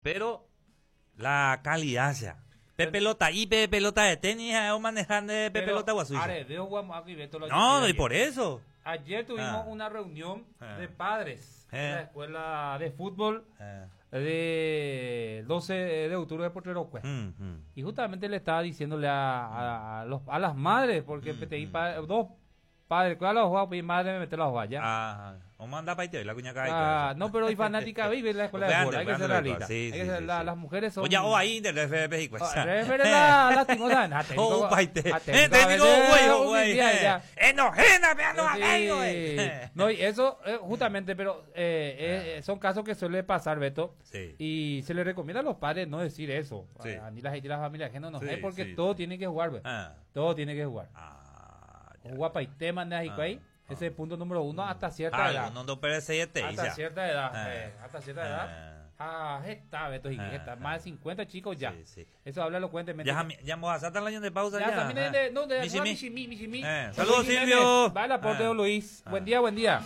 Pero la calidad sea. Pe pelota'i, pe pelota de tenis ha'e omaneha nde pe pelota guasúicha. Areve oguamo'ã guive todo lo No, y por eso. Ayer tuvimos ah. una reunión ah. de padres de la escuela de fútbol eh. de 12 de octubre de Potrero Cue. Mm, mm. Y justamente le estaba diciéndole a, a, los, a las madres, porque mm, mm. dos Padre, ¿cuál la juega? Mi madre me mete la juega ya. Ah, o manda pa' la cuña cae. Ah, no, pero hay fanática vive en la escuela de fútbol, hay que ser realista. Sí, sí, sí, las mujeres son. Oye, o ahí del FP y pues. la lastimosa, Oh, paite. Técnico, güey, güey. Enojena, vean los No, y eso, justamente, pero son casos que suele pasar, Beto. Sí. Y se le recomienda a los padres no decir eso. Sí. A ni la gente, la familia ajena no, es porque todo tiene que jugar, Beto. Todo tiene que jugar. Ah. Guapaite manda ahí. Ese es punto número uno hasta cierta ah, edad. No, no, hasta cierta edad. Eh, hasta cierta edad. Ah, está, Beto, ah, está. Más de 50 chicos ya. Sí, sí. Eso habla elocuentemente. Ya, ya a el año de pausa. Ya, también de, no, de, Michimi, Michimi. Saludos, Silvio. Va el aporte de Luis. Buen día, buen día.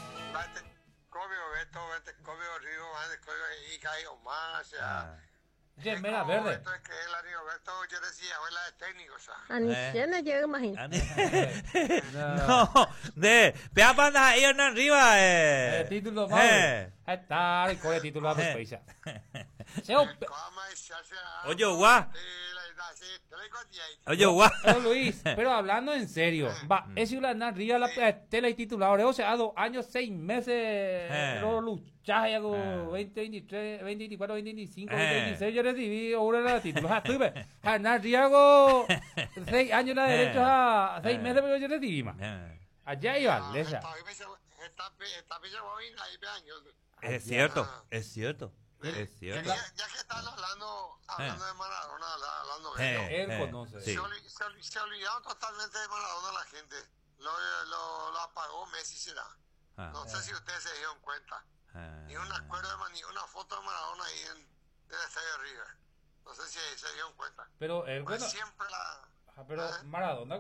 Gemela verde. No, de, pea panda ahí arriba, eh. Título más. Está, el core título a pues Oye, guau. Oye, guau. Pero Luis, pero hablando en serio, va, es una arriba la tela y titular, o sea, dos años, seis meses, lo luchaje, hago 20, 23, 20, 24, 20, 25, 20, 26, yo recibí ahora la título. Estuve, Hernán Riago, 6 años la derecho a 6 meses, pero yo recibí más. Allá iba, Lesa. Es cierto, es cierto. Es cierto. Ya, que están hablando, hablando de Maradona, hablando de él conoce. Sí. Se, olvidaron totalmente de Maradona la gente. Lo, lo, lo apagó Messi será. Ah, no sé si ustedes se dieron cuenta. Ni un acuerdo de, ni una foto de Maradona ahí en, el estadio River. No sé si se dieron cuenta. Pero él, pues bueno, siempre la. Pero Maradona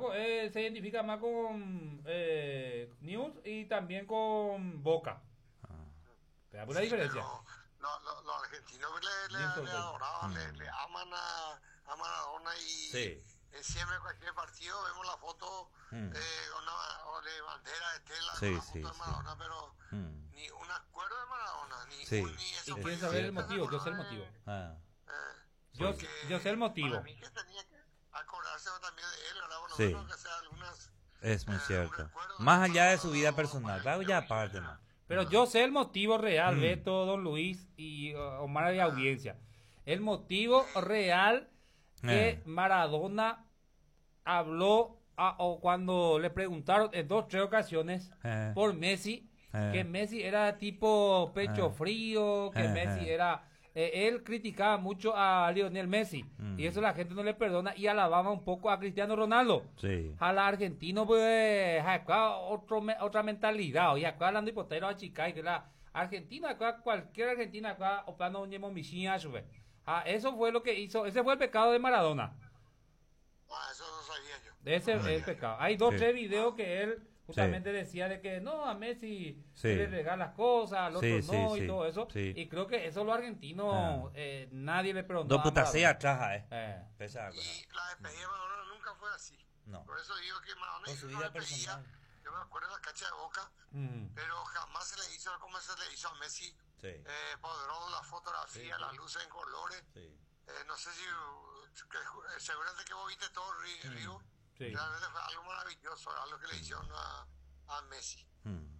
se identifica más con News y también con Boca. ¿Te da la diferencia? Los argentinos le, le, le adoraban, le, le aman a, a Maradona y sí. siempre en cualquier partido vemos la foto una, o de bandera de tela sí, con la sí, foto de Maradona, pero ni un acuerdo de Maradona, ni, sí. un, ni eso. ¿Y quién sabe el motivo? Yo sé el motivo. Ah. Yo, yo sé el motivo. Para mí que tenía que acordarse también de él, ¿verdad? Por lo sí. menos que sea algunas, es muy cierto. Más allá de su vida personal, claro, ya aparte, man. Pero yo sé el motivo real, Beto, Don Luis y Omar de audiencia. El motivo real que Maradona habló a, o cuando le preguntaron en dos, tres ocasiones por Messi, que Messi era tipo pecho frío, que Messi era... él criticaba mucho a Lionel Messi y eso la gente no le perdona y alababa un poco a Cristiano Ronaldo. Sí. A la argentino pues acá otro, otra mentalidad y acá hablando hipotero a chica y que la Argentina acá cualquier argentina acá opando un yemo Ah, eso fue lo que hizo, ese fue el pecado de Maradona. Ah, eso no sabía yo. Ese es el pecado. Hay dos, tres videos que él justamente decía de que no, a Messi se le regalas cosas, al otro no y todo eso. Y creo que eso los argentinos nadie le preguntó. Dos putas sí atrás, eh. Y la despedida de Maradona nunca fue así. No. Por eso digo que Maradona Con su vida personal. Yo me acuerdo de la cancha de Boca, pero jamás se le hizo como se le hizo a Messi. Sí. Eh, la fotografía, las luces en colores. Sí. No sé si, que, seguramente que vos viste todo Río. Sí. Realmente fue algo maravilloso, algo que le hicieron a, a Messi.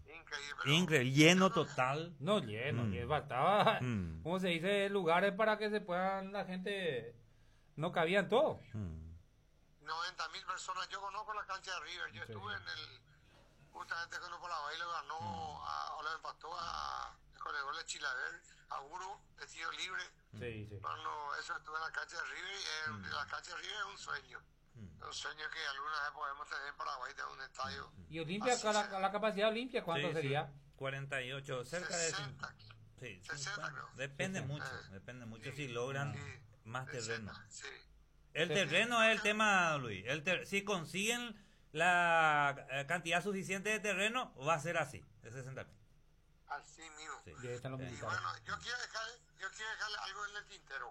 Increíble. Pero Increíble, lleno total. No, lleno, lleno. Faltaba, ¿cómo se dice? Lugares para que se puedan, la gente, no cabían todos. 90 mil personas. Yo conozco la cancha de River. Yo estuve en el, justamente cuando Paraguay le ganó, a, o le empató a, con el gol de Chilaver, a Guru, de tiro libre. Sí, sí. Cuando eso estuve en la cancha de River, y la cancha de River es un sueño. Un sueño que alguna vez podemos tener en Paraguay, de un estadio. ¿Y Olimpia, la, la capacidad Olimpia, cuánto sí, sería? Sí. 48, cerca 60, de... Sí, 60 creo. Depende 60. mucho, depende mucho si logran más 60, terreno. Sí. El terreno es el tema, Luis. El ter si consiguen la cantidad suficiente de terreno, va a ser así, de 60 mil. Así mismo. Sí. Y ahí están los y bueno, yo quiero dejar, Yo quiero dejarle algo en el tintero.